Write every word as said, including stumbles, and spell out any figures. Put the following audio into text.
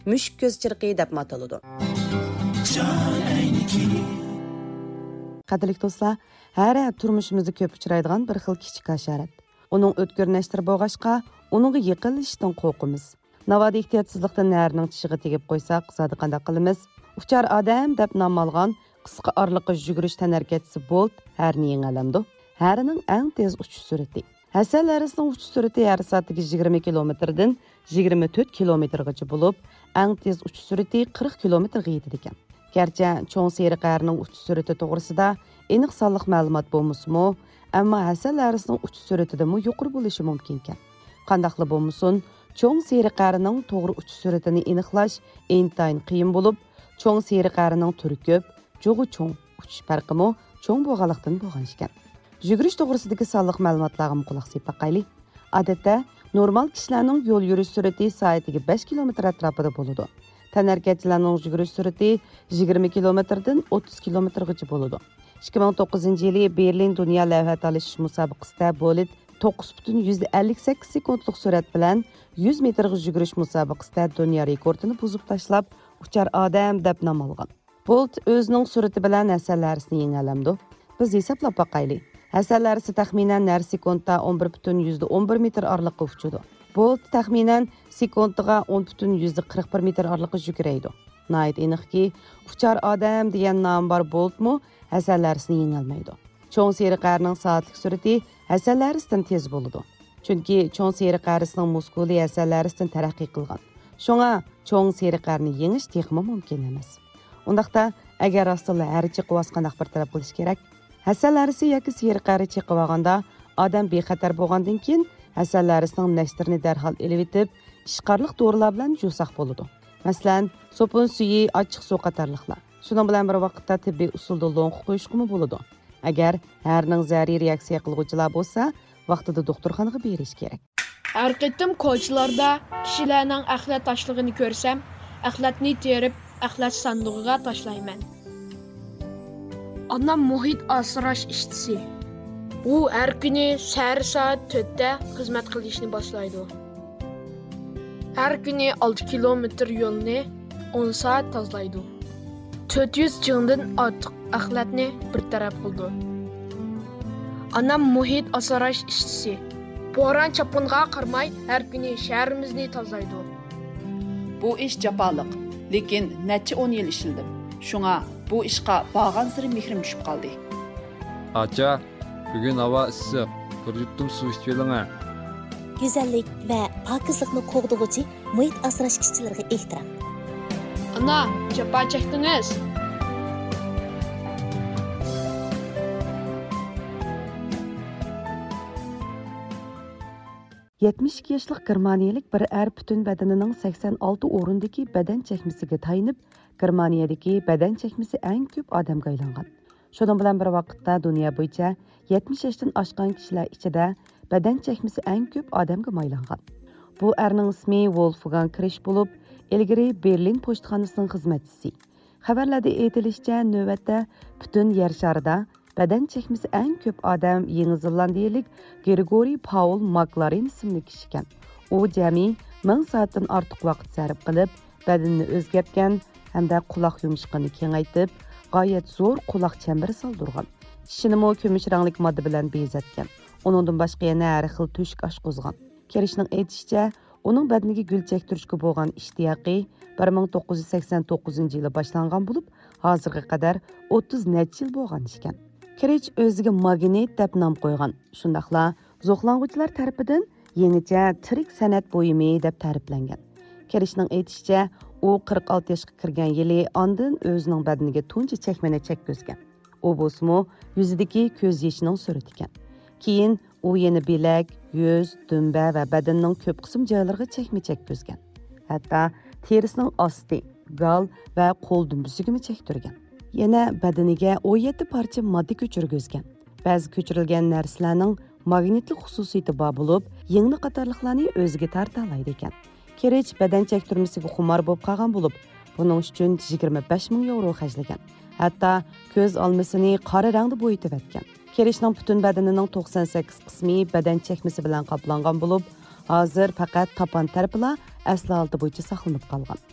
مۈشۈك كۆز چېرىقى دەپمۇ ئاتىلىدۇ. قەدىرلىك دوستلار، ھەرە تۇرمۇشىمىزدا كۆپ ئۇچرايدىغان بىر خىل كىچىك ھاشارات. ئۇنىڭ ئۆتكۈر نەشتىرى بولغاچقا، ئۇنىڭغا يېقىنلىشىشتىن قورقىمىز. ناۋادا ئېھتىياتسىزلىقتىن ھەرىنىڭ چىشىغا تېگىپ قويساق، زادى قانداق قىلىمىز؟ ئۇچار ئادەم دەپ نام ئالغان قىسقا ئارىلىققا يۈگۈرۈش تەنھەرىكەتچىسى بولت ھەرىنى يېڭەلەمدۇ؟ ھەرىنىڭ ئەڭ تېز ئۇچۇش سۈرئىتى. ھەسەل ھەرىسىنىڭ ئۇچۇش سۈرئىتى ھەر سائەتتىكى يىگىرمە كىلومېتىردىن يىگىرمە تۆت كىلومېتىرغىچە بولۇپ، ئەڭ تېز ئۇچۇش سۈرئىتى قىرىق كىلومېتىرغا يېتىدىكەن. گەرچە چوڭ سېرىق ھەرىنىڭ ئۇچۇش سۈرئىتى توغرىسىدا ئېنىق سانلىق مەلۇمات بولمىسىمۇ، ئەمما ھەسەل ھەرىسىنىڭ ئۇچۇش سۈرئىتىدىنمۇ يۇقىرى بولۇشى مۇمكىنكەن. قانداقلا بولمىسۇن، چوڭ سېرىق ھەرىنىڭ توغرا ئۇچۇش سۈرئىتىنى ئېنىقلاش ئىنتايىن قىيىن بولۇپ، چوڭ سېرىق ھەرىنىڭ تۈرى كۆپ، جۇغى چوڭ، ئۇچۇش پەرقىمۇ چوڭ بولغانلىقتىن بولغان ئىكەن. يۈگۈرۈش توغرىسىدىكى سانلىق مەلۇماتلارغىمۇ قۇلاق سېلىپ باقايلى. ئادەتتە، نورمال كىشىلەرنىڭ يول يۈرۈش سۈرئىتى سائىتىگە بەش كىلومېتىر ئەتراپىدا بولىدۇ. تەنھەرىكەتچىلەرنىڭ يۈگۈرۈش سۈرئىتى يىگىرمە كىلومېتىردىن ئوتتۇز كىلومېتىرغىچە بولىدۇ. ئىككى مىڭ توققۇزىنچى يىلى بېرلىن دۇنيا لەۋھە تالىشىش مۇسابىقىسىدە بولت توققۇز پۈتۈن يۈزدە ئەللىك سەككىز سېكۇنتلۇق سۈرئەت بىلەن يۈز مېتىرغا يۈگۈرۈش مۇسابىقىسىدە دۇنيا رېكورتىنى بۇزۇپ تاشلاپ، ئۇچار ئادەم دەپ نام ئالغان. بولت ئۆزىنىڭ سۈرئىتى بىلەن ھەسەل ھەرىسىنى يېڭەلەمدۇ؟ بىز ھېسابلاپ باقايلى. ھەسەل ھەرىسى تەخمىنەن ھەر سېكۇنتتا ئون بىر پۈتۈن يۈزدە ئون بىر مېتىر ئارىلىققا ئۇچىدۇ. بولت تەخمىنەن سېكۇنتىغا ئون پۈتۈن يۈزدە قىرىق بىر مېتىر ئارىلىققا يۈگۈرەيدۇ. ناھايىتى ئېنىقكى، ئۇچار ئادەم دېگەن نامى بار بولتمۇ ھەسەل ھەرىسىنى يېڭەلمەيدۇ. چوڭ سېرىق ھەرىنىڭ سائەتلىك سۈرئىتى ھەسەل ھەرىسىدىن تېز بولىدۇ. چۈنكى چوڭ سېرىق ھەرىسىنىڭ مۇسكۇلى ھەسەل ھەرىسىدىن تەرەققىي قىلغان. شۇڭا چوڭ سېرىق ھەرىنى يېڭىش تېخىمۇ مۇمكىن ئەمەس. ئۇنداقتا، ئەگەر راستتىنلا ھەر چېقىۋالسا قانداق بىر تەرەپ قىلىش كېرەك؟ ھەسەل ھەرىسى ياكى سېرىق ھەرە چېقىۋالغاندا ئادەم بىخەتەر بولغاندىن كېيىن، ھەسەل ھەرىسىنىڭ نەشتىرىنى دەرھال ئېلىۋېتىپ، ئىشقارلىق دورىلار بىلەن يۇساق بولىدۇ. مەسىلەن، سوپۇن سۈيى، ئاچچىق سۇ قاتارلىقلار. شۇنىڭ بىلەن بىر ۋاقىتتا تېببىي ئۇسۇلدا لوڭقا قويۇشقىمۇ بولىدۇ. ئەگەر ھەرىنىڭ زەھىرىگە رېئاكسىيە قىلغۇچىلار بولسا، ۋاقتىدا دوختۇرخانىغا بېرىش كېرەك. ھەر قېتىم كوچىلاردا كىشىلەرنىڭ ئەخلەت تاشلىغىنى كۆرسەم، ئەخلەتنى تېرىپ، ئەخلەت ساندۇقىغا تاشلايمەن. ئانام مۇھىت ئاسراش ئىشچىسى. ئۇ ھەر كۈنى سەھەر سائەت تۆتتە خىزمەت قىلىشنى باشلايدۇ. ھەر كۈنى ئالتە كىلومېتىر يولنى ئون سائەت تازىلايدۇ. تۆت يۈز جىڭدىن ئارتۇق ئەخلەتنى بىر تەرەپ قىلىدۇ. ئانام مۇھىت ئاسراش ئىشچىسى. بوران-چاپقۇنغا قارىماي، ھەر كۈنى شەھىرىمىزنى تازىلايدۇ. بۇ ئىش جاپالىق، لېكىن نەچچە ئون يىل ئىشلىدىم. شۇڭا بۇ ئىشقا بارغانسېرى مېھرىم چۈشۈپ قالدى. ئاچا، بۈگۈن ھاۋا ئىسسىق، بىر يۇتۇم سۇ ئىچىۋېلىڭە. گۈزەللىك ۋە پاكىزلىقنى قوغدىغۇچى مۇھىت ئاسراش ئىشچىلىرىغا ئېھتىرام. ئانا، جاپا چەكتىڭىز. يەتمىش ئىككى ياشلىق گېرمانىيەلىك بىر ئەر پۈتۈن بەدىنىنىڭ سەكسەن ئالتە ئورۇندىكى بەدەن چەكمىسىگە تايىنىپ، گېرمانىيەدىكى بەدەن چەكمىسى ئەڭ كۆپ ئادەمگە ئايلانغان. شۇنىڭ بىلەن بىر ۋاقىتتا، دۇنيا بويىچە يەتمىش ياشتىن ئاشقان كىشىلەر ئىچىدە بەدەن چەكمىسى ئەڭ كۆپ ئادەمگە مايلانغان. بۇ ئەرنىڭ ئىسمى ۋولفگانگ كرىش بولۇپ، ئىلگىرى بېرلىن پوچتىخانىسىنىڭ خىزمەتچىسى. خەۋەرلەردە ئېيتىلىشىچە، نۆۋەتتە پۈتۈن يەر شارىدا بەدەن چەكمىسى ئەڭ كۆپ ئادەم يېڭى زېلاندىيىلىك گرېگورىي پاۋل ماكلارېن ئىسىملىك كىشىكەن. ئۇ جەمئىي مىڭ سائەتتىن ئارتۇق ۋاقىت سەرپ قىلىپ، بەدىنىنى ئۆزگەرتكەن ھەمدە قۇلاق يۇمشىقىنى كېڭەيتىپ، غايەت زور قۇلاق چەمبىرى سالدۇرغان. چىشىنىمۇ كۈمۈش رەڭلىك ماددا بىلەن بېزەتكەن. ئۇنىڭدىن باشقا يەنە ھەر خىل تۆشۈك ئاشقۇزغان. كرىشنىڭ ئېيتىشىچە، ئۇنىڭ بەدىنىگە گۈل چەكتۈرۈشكە بولغان ئىشتىياقى بىر مىڭ توققۇز يۈز سەكسەن توققۇزىنچى يىلى باشلانغان بولۇپ، ھازىرغا قەدەر ئوتتۇز نەچچە يىل بولغان ئىكەن. كرىچ ئۆزىگە ماگنىت دەپ نام قويغان. شۇنداقلا زوقلانغۇچىلار تەرىپىدىن يېڭىچە تىرىك سەنئەت بۇيۇمى دەپ تەرىپلەنگەن. كرىچنىڭ ئېيتىشىچە، ئۇ قىرىق ئالتە ياشقا كىرگەن يىلى ئاندىن ئۆزىنىڭ بەدىنىگە تۇنجى چەكمىنى چەككۈزگەن. ئۇ بولسىمۇ يۈزىدىكى كۆز يېشىنىڭ سۈرىتىكەن. كېيىن ئۇ يەنە بىلەك، يۈز، دۈمبە ۋە بەدىنىنىڭ كۆپ قىسىم جايلىرىغا چەكمە چەككۈزگەن. ھەتتا تېرىسىنىڭ ئاستى، گال ۋە قول دۈمبىسىگىمۇ چەكتۈرگەن. يەنە بەدىنىگە ئون يەتتە پارچە ماددا كۆچۈرگۈزگەن. بەزى كۆچۈرۈلگەن نەرسىلەرنىڭ ماگنىتلىق خۇسۇسىيىتى بار بولۇپ، يىڭنە قاتارلىقلارنى ئۆزىگە تارتالايدىكەن. كرىچ بەدەن چەكتۈرمىسىگە خۇمار بولۇپ قالغان بولۇپ، بۇنىڭ ئۈچۈن يىگىرمە بەش مىڭ ياۋرو خەجلىگەن. ھەتتا كۆز ئالمىسىنى قارا رەڭدە بويىتىۋەتكەن. كرىچنىڭ پۈتۈن بەدىنىنىڭ توقسان سەككىز قىسمى بەدەن چەكمىسى بىلەن قاپلانغان بولۇپ، ھازىر پەقەت تاپان تەرىپىلا ئەسلى ھالىتى بويىچە ساقلىنىپ قالغان.